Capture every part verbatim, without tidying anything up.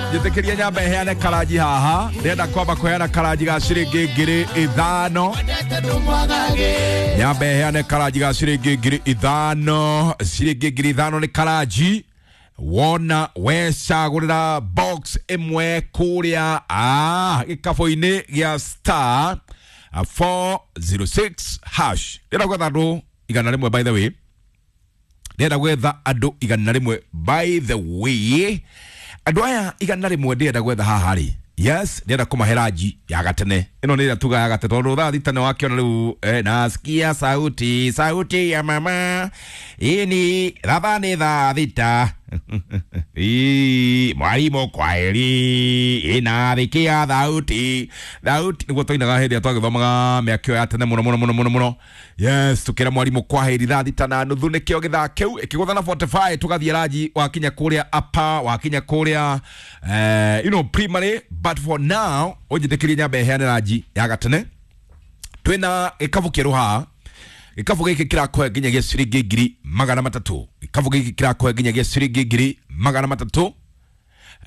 Njĩtĩkĩria nyambe heane karanji haha. Ndĩrenda kwamba kũheana karanji ga ciringi ngiri ithano. Nyambe heane karanji ga ciringi ngiri ithano. Ciringi ngiri ithano nĩ karanji wona wecagũrĩra box ĩmwe kũrĩa ah, gĩkabũ-inĩ gĩa star four zero six hash. Ndĩrenda gwetha andũ igana rĩmwe, by the way. Ndĩrenda gwetha andũ igana rĩmwe, by the way. Andũ aya igana rĩmwe ndĩrenda gwetha haha rĩ, yes, ndĩrenda kũmahe ranji ya gatene. Ĩno nĩ ĩrĩa tuga ya gatene tondũ thaa thita nĩ wakĩona rĩu, eh, nasikia sauti sauti ya mama ini ratha nĩ thaa thita. Ii, mwalimu kwaheri inathikia thauti thauti nĩguo twainaga hĩndĩ ĩrĩa twagĩthomaga mĩaka ĩyo ya tene mũno mũno mũno mũno mũno. Yes, tukĩra mwarimũ kwaheri thaa thita na nuthu nĩkĩo gĩthaa kĩu ĩkĩgũtha na forty-five tũgathiĩ ranji wakinya kũrĩa upper wakinya kũrĩa eh, you know, primary. But for now ũnjĩtĩkĩrie nyambe heane ranji ya gatene. Twĩna gĩkabũ kĩerũ haha. Gĩkabũ gĩkĩ kĩrakũhe nginyagia ciringi ngiri magana matatũ. Gĩkabũ gĩkĩ kĩrakũhe nginyagia ciringi ngiri magana matatũ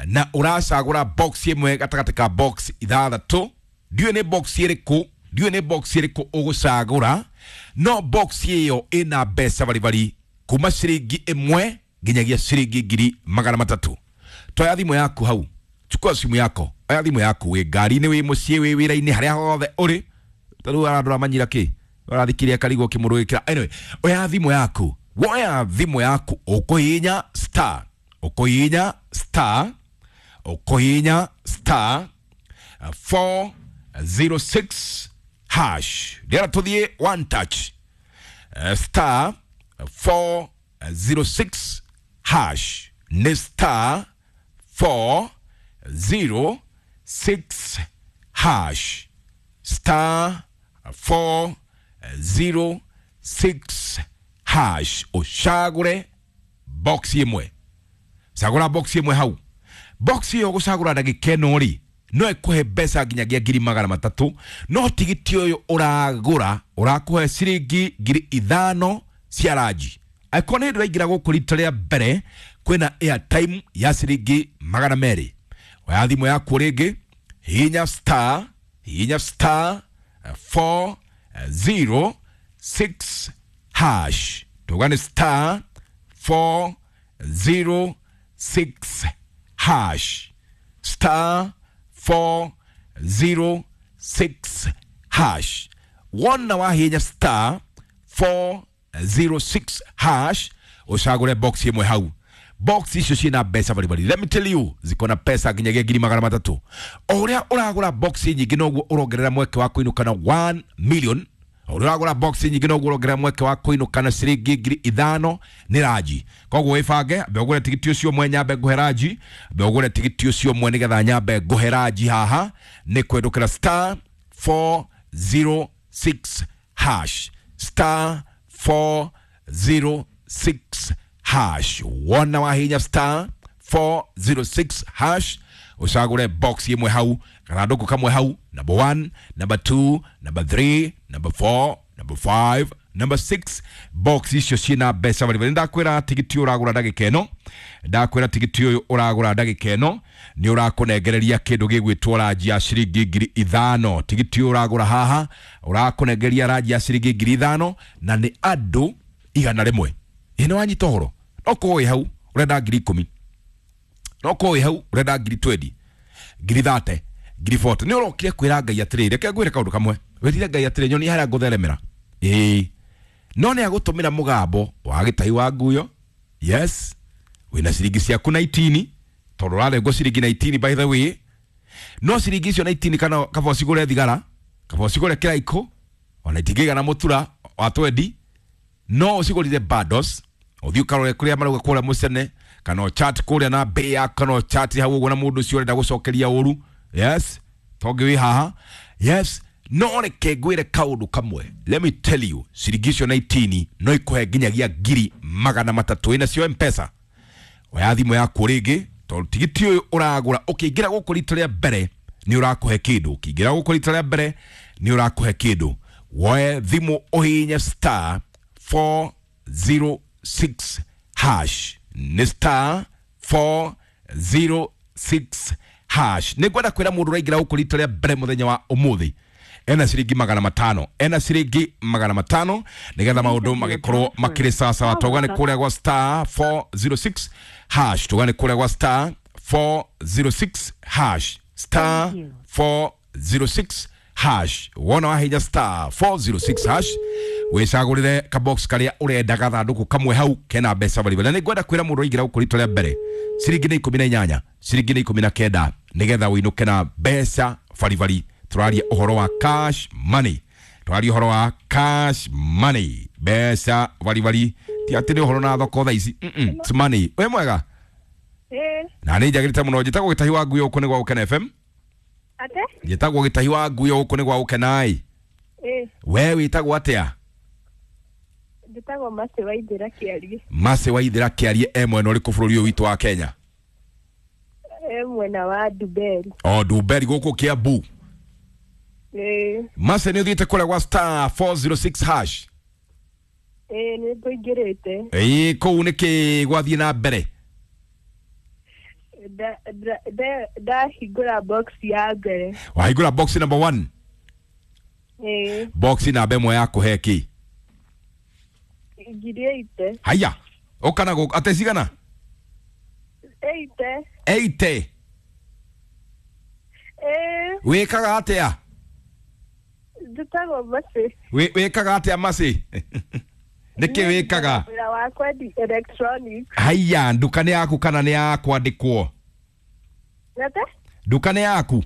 na ũracagũra box ĩmwe gatagatĩ ka box ithathatũ. Ndiũĩ nĩ box ĩrĩkũ, ndiũĩ nĩ box ĩrĩkũ ũgũcagũra, no box ĩyo ĩna mbeca baribari kuma ciringi ĩmwe nginyagia ciringi ngiri magana matatũ. Toya thimũ yaku hau, chukua simu yako, oya thimũ yaku wĩ ngari-inĩ, wĩ mũciĩ, wĩ wĩra-inĩ, harĩa hothe ũrĩ. Tarĩu arandora manyira kĩ ũrathikiria karigwo kĩmũrũgĩkĩra. Anyway, oya thimũ yaku, woya thimũ yaku ũkũhihinya star, ũkũhihinya star, ũkũhihinya star four zero six hash. Ndĩrenda tũthiĩ one touch. Uh, star four zero six hash nĩ star four zero six hash, star four zero six hash. Ũcagũre box ĩmwe, cagũra box ĩmwe hau. Box ĩyo ũgũcagũra ndagĩka ĩno rĩ no ĩkũhe mbeca nginyagia ngiri magana matatũ, no tigiti ũyũ ũragũra ũrakũhe ciringi ngiri ithano cia ranji. Angĩkorwo nĩ hĩndĩ ũraingĩra gũkũ rita rĩa mbere, kwĩna airtime ya ciringi magana merĩ. Oya thimũ yaku rĩngĩ, hihinya star, hihinya star four zero six hash. Tuga nĩ star four zero six hash, star four zero six hash. Wona wahinya star four zero six hash ucagure box imwe hau. Box icio ciina mbeca baribari. Let me tell you, ziko na pesa nginyagia ngiri magana matatu. O uria uragura box nyingi noguo urongerera mweke wa kuinuka na one million. O uria uragura box nyingi noguo urongerera mweke wa kuinuka na ciringi ngiri ithano ni raji. Koguo wibange, mbe ugure tigiti ucio mwe nyambe nguhe raji, mbe ugure tigiti ucio mwe nigetha nyambe nguhe raji haha ni kwendukira star four zero six hash, star four zero six hash. Wona wahinya star four zero six hash ucagure box imwe hau, gathandũkũ kamwe hau, number one, number two, number three, number four, number five, number six. Box icio ciina mbeca baribari. Ndakwĩra tigiti ũragũra ndagĩka ĩno, ndakwĩra tigiti ũyũ ũragũra ndagĩka ĩno nĩ ũrakũnengereria kĩndũ gĩgwĩtwo ranji ya ciringi ngiri ithano. Tigiti ũyũ ũragũra haha ũrakũnengeria ranji ya ciringi ngiri ithano na nĩ andũ igana rĩmwe. Ĩ nĩ wanyita ũhoro? No korwo wĩ hau ũrenda ngiri ikũmi, no korwo wĩ hau ũrenda ngiri twenty, ngiri thirty, ngiri forty. Nĩ ũrokire kwĩra Ngai atĩrĩrĩ, reke ngwĩre kaũndũ kamwe. Wĩrire Ngai atĩrĩ, nyonia harĩa ngũtheremera. Ĩĩ, no nĩ agũtũmĩra mũgambo wa gĩtai wa nguyo. Yes, wĩna ciringi ciaku nineteen, tondũ ũrarengwo ciringi nineteen by the way. No ciringi icio nineteen kana kaba ũcigũre thigara, kaba ũcigũre kĩraikũ, ona itingĩigana mũtura wa twenty, no ũcigũrire bundles, ũthiĩ ũkarore kũrĩa marauga kũrĩa mũcene, kana chat kũrĩa na mbĩa, kana chat hau ũguo na mũndũ ũcio ũrenda gũcokeria ũru. Yes, tongĩ wĩ haha. Yes, no reke ngwĩre kaũndũ kamwe. Let me tell you, ciringi icio nineteen no ikũhe nginyagia ngiri magana matatũ. Ĩna cio M-Pesa. Oya thimũ yaku rĩngĩ, tondũ tigiti ũyũ ũragũra ũkĩingĩra gũkũ rita rĩa mbere nĩ ũrakũhe kĩndũ. Ũkĩingĩra gũkũ rita rĩa mbere nĩ ũrakũhe kĩndũ. Woe thimũ ũhihinye star four zero six hash. Nĩ star four zero six hash. Nĩ ngwenda kwĩra mũndũ ũraingĩra gũkũ rita rĩa mbere mũthenya wa ũmũthĩ ena ciringi magana matano, ena ciringi magana matano nigetha maundu magikorwo makiri sawa. Tauga nĩ kũrĩa gwa star four zero six hash, tuga nĩ kũrĩa gwa star four zero six hash, star four zero six hash. Wona wahinya star four zero six hash wicagũrĩre kabox karĩa ũrenda gathandũkũ kamwe hau kena mbeca baribari. Na nĩ ngwenda kwĩra mũndũ ũraingĩra gũkũ rita rĩa mbere ciringi nĩ ikũmi na inyanya, ciringi nĩ ikũmi na kenda nĩgetha ũinũke na mbeca baribari. Tũraria ũhoro wa cash money, tũraria ũhoro wa cash money, mbeca baribari, ti atĩ nĩ ũhoro na thoko thaa ici. Mm -mm, it's money. Wĩ mwega? Ĩĩ. Na nĩ njagĩrĩte mũno. Njĩtagwo Gĩtahi wa Ngui gũkũ nĩ gwa Gũkena F M. Ate? Njĩtagwo Gĩtahi wa Ngui gũkũ nĩ gwa Gũkena. Ĩĩ. We wĩtagwo atĩa? Njĩtagwo Mercy Waithera Kĩarie. Mercy Waithera Kĩarie e mwena ũrĩkũ bũrũri ũyũ witũ wa Kenya? E mwena wa Ndumberi. O Ndumberi gũkũ Kiambu. Ĩĩ. Mercy nĩ ũthiĩte kũrĩa gwa star four zero six hash? Ĩĩ nĩ ngũingĩrĩte. Ĩĩ kũu nĩkĩ gwathiĩ na mbere? Ndahingũra box ya mbere. Wahingũra box number one? Ĩĩ. Box namba ĩmwe ya kũhe kĩ? Ngiri eight. Haya, ũka na gũkũ atĩ cigana? Eight. Eight. Ĩĩ. Wĩkaga atĩa? Njĩtagwo Mercy. Wĩkaga atĩa Mercy? Nĩkĩ wĩkaga? Wĩra wa kwendia electronics. Haya, nduka nĩ yaku kana nĩ ya kwandĩkwo? Ate? Nduka nĩ yaku?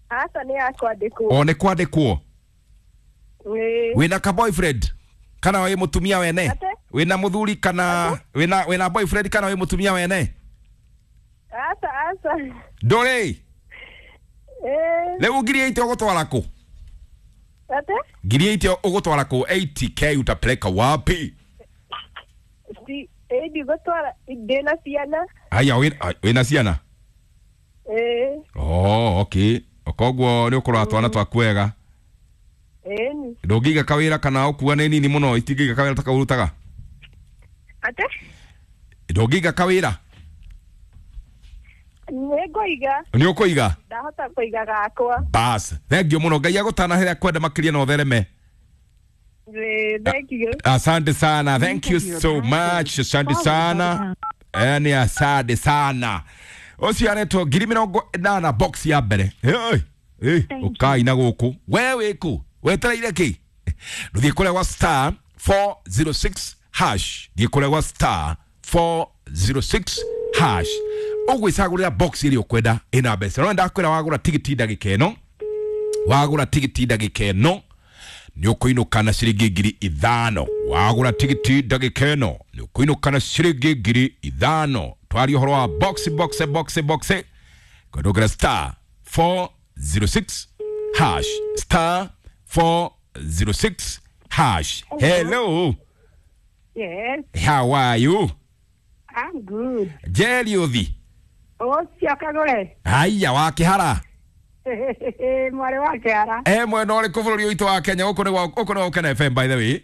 Aca nĩ ya kwandĩkwo. O nĩ kwandĩkwo? Ĩĩ. Wĩna ka boyfriend kana wĩ mũtumia wene? Ate? Wĩna mũthuri kana wĩna wĩna boyfriend kana wĩ mũtumia wene? Aca aca. Ndũrĩ? Ĩĩ. Rĩu ngiri eight ũgũtwara kũ? Ate? Ngiri eight ũgũtwara kũ? eighty K utapeleka wapi? Si ĩĩ ndigũtwara, ndĩna ciana. Haya, wĩna ciana? Ĩĩ. Oh, okay. Koguo nĩ ũkũrora twana twaku wega? Ĩĩ. Ndũngĩiga kawĩra kana ũkua nĩ nini mũno itingĩiga kawĩra ta kau ũrutaga? Ate? Ndũngĩiga kawĩra? Nĩ ngũiga. Nĩ ũkũiga? Ndahota kũiga gakwa. Bas, thank you mũno. Ngai agũtanahĩre kwenda makĩria na ũthereme. Thank you. Asante sana. Thank you so much. Asante sana. Yaani asante sana. Ũcio aretwo ngiri mĩrongo ĩnana box ya mbere. Hey, hey, ũkai na gũkũ. We wĩkũ? Wetereire kĩ? Ndũthiĩ kũrĩa gwa star four zero six hash. Thiĩ kũrĩa gwa star four zero six hash. Ũgwĩcagũrĩra box ĩrĩa ũkwenda ĩna mbeca. No ndakwĩra wagũra tigiti ndagĩka ĩno, wagũra tigiti ndagĩka ĩno nĩ ũkũinũka na ciringi ngiri ithano. Wagũra tigiti ndagĩka ĩno nĩ ũkũinũka na ciringi ngiri ithano. Twaria ũhoro wa box box box box. Kwendũngĩra star four zero six hash, star four zero six hash. Hello. Yes. How are you? I'm good. Njeri ũthi. Ũcio kagũre. Haya, wa Kĩhara. Mwarĩ wa Kĩhara. E mwena ũrĩkũ bũrũri ũyũ witũ wa Kenya? Gũkũ nĩ gwa gũkũ nĩ gwa Gũkena F M by the way.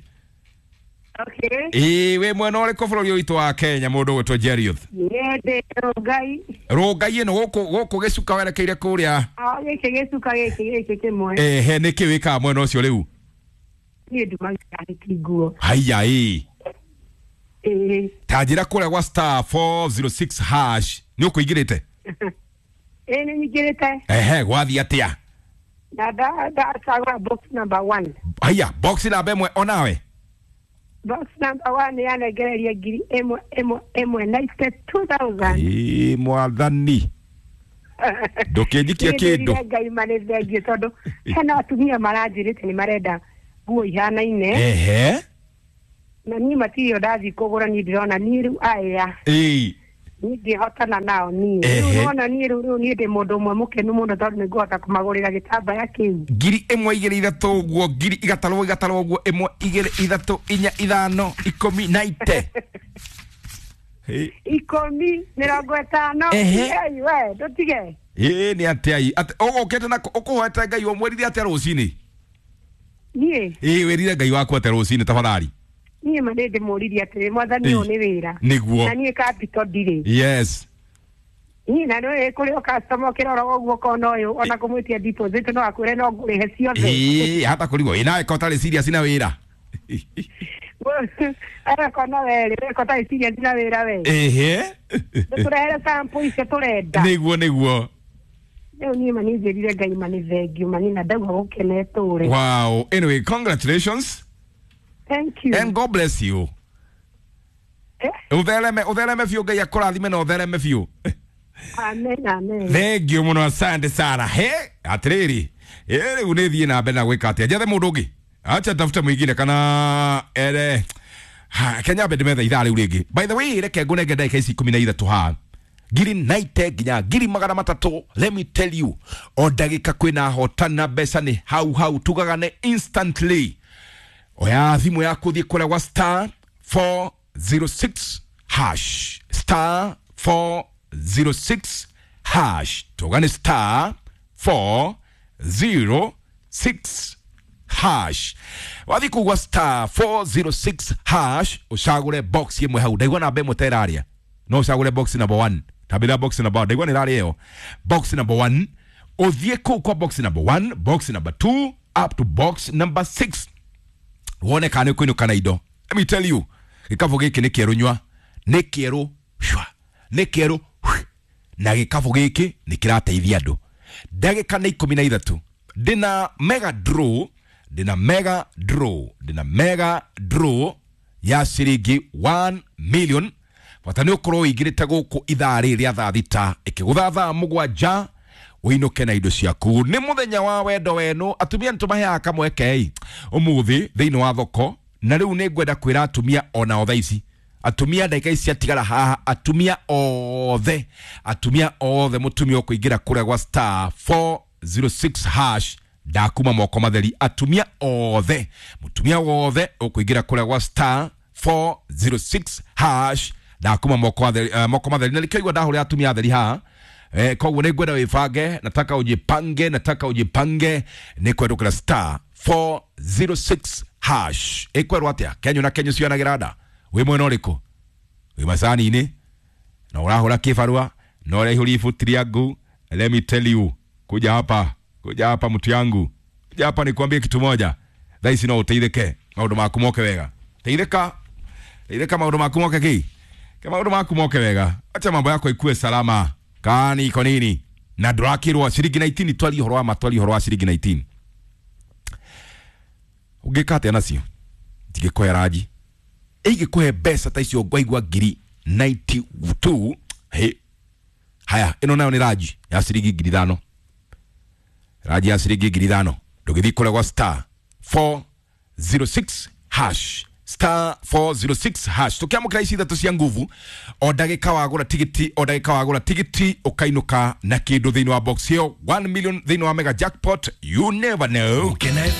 Okay. Ĩĩ wĩ mwena ũrĩkũ bũrũri ũyũ witũ wa Kenya mũndũ ũgwĩtwo Njeri ũthi? Niĩ ndĩ Rũngai. Rũngai ĩno gũkũ gũkũ gĩcuka werekeire kũrĩa. O gĩkĩ gĩcuka gĩkĩ gĩkĩ kĩmwe. Ehe, nĩkĩ wĩkaga mwena ũcio rĩu? Niĩ ndumaga nĩkĩ nguo. Haya ĩĩ. Ĩĩ. Ta njĩra kũrĩa gwa star four zero six hash nĩ ũkũingĩrĩte? Ĩĩ nĩ nyingĩrĩte. Ehe, gwathiĩ atĩa? Na ndacagũra box number one. Haya, box namba ĩmwe onawe? Box number one yanengereria ngiri ĩmwe ĩmwe ĩmwe ninety two thousand. Ĩĩ mwathani. Ndũkĩnjikie kĩndũ. Ngai manĩ thengiũ tondũ hena atumia maranjĩrĩte nĩ marenda nguo ihanaine. Ehe. Na niĩ matirĩ o ndathiĩ kũgũra, niĩ ndĩrona niĩ rĩu aya. Ĩĩ. Niĩ ndihotana nao niĩ. Rĩu nona niĩ rĩu rĩu niĩ ndĩ mũndũ ũmwe mũkenu mũno tondũ nĩ ngũhota kũmagũrĩra gĩtambaya kĩu. Ngiri ĩmwe igĩrĩ ithatũ ũguo, ngiri igatarwo igatarwo ũguo, ĩmwe igĩrĩ ithatũ inya ithano ikũmi na ite. Ikũmi mĩrongo ĩtano. Ei we ndũtige. Ĩĩ nĩ atĩa ĩ? Ũgũkĩte na ũkũhoete Ngai ũmwĩrire atĩa rũcinĩ? Niĩ? Ĩĩ wĩrire Ngai waku atĩa rũcinĩ tafadhali? Niĩ ma nĩ ndĩmũririe atĩrĩ mwathani ũyũ nĩ wĩra. Nĩguo. Na niĩ capital ndirĩ. Yes. Ii na nĩ kũrĩ o customer ũkĩrora ũguo ũkona ũyũ ona kũmwĩtia deposit no akwĩre no ngũrĩhe ciothe. Ĩĩ, hata kũrigwo ĩ nawe ko ũtarĩ serious na wĩra. Agakona we rĩ, ko ũtarĩ serious na wĩra we. Ehe. Tũrehere sample icio tũrenda. Nĩguo nĩguo. Rĩu niĩ ma nĩ njĩrire Ngai ma nĩ thengiũ ma nĩ na ndaigua gũkena ĩtũre. Wow. Anyway, congratulations. Thank you. And God bless you. Eh? Uthereme uthereme biũ, Ngai akũrathime na ũthereme biũ. Amen, amen. Thank you mũno, asante sana. He, atĩrĩrĩ, ĩ rĩu nĩ thiĩ na mbere na gwĩka atĩa? Njethe mũndũ ũngĩ, acha tafute mwingine kana ere. Ha, Kenya mbe ndĩmethe ithaa rĩu rĩngĩ. By the way, reke ngũnenge ndagĩka ici ikũmi na ithatũ haha, ngiri naite nginya ngiri magana matatũ. Let me tell you, o ndagĩka kwĩna hotana mbeca nĩ hau hau, tugaga nĩ instantly. Oya thimũ yaku, thiĩ kũrĩa gwa star four zero six hash, star four zero six hash, tuga nĩ star four zero six hash. Wathiĩ kũu gwa star four zero six hash, ũcagũre box ĩmwe hau. Ndaigua namba ĩmwe ta ĩraria, no ũcagũre box number one. Tambĩra box number one, ndaigua nĩ ĩraria ĩyo box number one. Ũthiĩ kũu kwa box number one, box number two, up to box number six, wone kana nĩ ũkũinũka na indo. Let me tell you, gĩkabũ gĩkĩ nĩ kĩerũ nyua, nĩ kĩerũ shwa, nĩ kĩerũ hwi. Na gĩkabũ gĩkĩ nĩ kĩrateithia andũ. Ndagĩka nĩ ikũmi na ithatũ. Ndĩna mega draw, ndĩna mega draw, ndĩna mega draw ya ciringi one million. Bata nĩ ũkorwo ũingĩrĩte gũkũ ithaa rĩrĩ rĩa thaa thita ĩkĩgũtha thaa mũgwanja, ũinũke na indo ciaku. Nĩ mũthenya wa wendo wenu. Atumia nĩ tũmaheaga kamweke ũmũthĩ thĩinĩ wa thoko, na rĩu nĩ ngwenda kwĩra atumia ona thaa ici, atumia, ndagĩka ici ciatigara haha, atumia othe, atumia othe, mũtumia ũkũingĩra kũrĩa gwa star four zero six hash ndakuma moko matheri. Atumia othe, mũtumia wothe ũkũingĩra kũrĩa gwa star four zero six hash ndakuma moko matheri, uh, moko matheri. Na nĩkĩo ndahũrĩra atumia atheri haha. Eh, koguo nĩ ngwenda wĩbange, nataka ujipange, nataka ujipange. Nĩ kwendũkĩra star four zero six hash. Ĩkwerwo atĩa? Kenyo na kenyo cionagĩra nda. Wĩ mwena ũrĩkũ? Wĩ macani-inĩ na ũrahũra kĩbarũa na ũraihũria ibuti rĩangu. Let me tell you, kuja hapa, kuja hapa mtu yangu, kuja hapa nikwambie kitu moja. Thaa ici no ũteithĩke, maũndũ maku moke wega. Teithĩka, teithĩka, maũndũ maku moke kĩ ke maũndũ maku moke wega. Acha mambo yako ikue salama. Kani iko nini na ndũrakĩrwo ciringi nineteen? Twarie ũhoro wa ma, twarie ũhoro wa ciringi nineteen. Ũngĩka atĩa nacio? Ndingĩkũhe ranji ĩingĩkũhe mbeca ta icio ngwaigua ngiri ninety-two. He, haya, ĩno nayo nĩ ranji ya ciringi ngiri ithano, ranji ya ciringi ngiri ithano. Ndũgĩthiĩ kũrĩa gwa star four zero six hash, star four zero six hash. Tukiamũkĩra ici ithatũ cia nguvu, o ndagĩka wagũra tigiti, o ndagĩka wagũra tigiti ũkainũka na kĩndũ thĩinĩ wa box ĩyo one million thĩinĩ wa mega jackpot. You never know. Gukena.